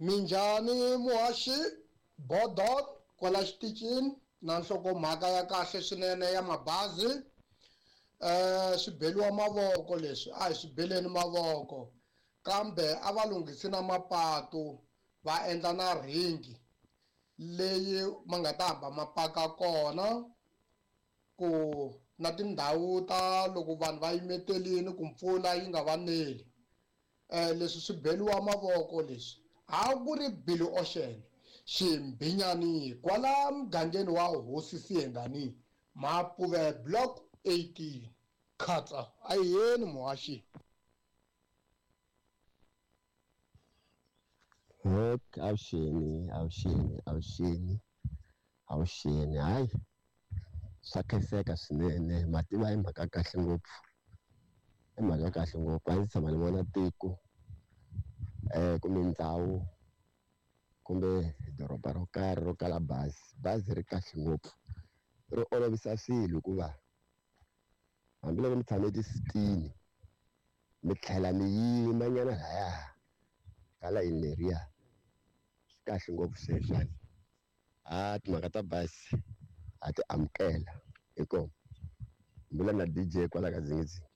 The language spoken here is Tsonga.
Minjhani muhaxi Bodon kwala xitichini na nhlokomhaka ya kahle swinene ya mabazi swi beliwa mavoko leswi a hi swi beleni mavoko kambe a va lunghisi na mapatu va endla na ringi leyi ma nga ta hamba ma paka kona ku na tindhawu ta loko vanhu va yimetelini ku mpfula yi nga va neli leswi swi beliwa mavoko leswi a ku ri Billy Ocean Ximbhinyani kwala mugangeni wa Hosi Siyengani Mapuve Block 18 khatsa a hi yeni muhaxi. Ok, avuxeni avuxeni avuxeni avuxeni hayi swa khenseka swinene mativa i mhaka kahle ngopfu i mhaka kahle ngopfu a ndzi tshama ni vona tiko kumbe ndhawu kumbe doroba ro karhi ro kala bazi bazi ri kahle ngopfu ri olovisa swilo hikuva hambiloko mi tshame tisitini mi tlhela mi yima nyana laya ka layini leriya swi kahle ngopfu sweswiwani a timhaka ta bazi ha ti amukela inkomu mbula na DJ kwala ka dzingidzingi.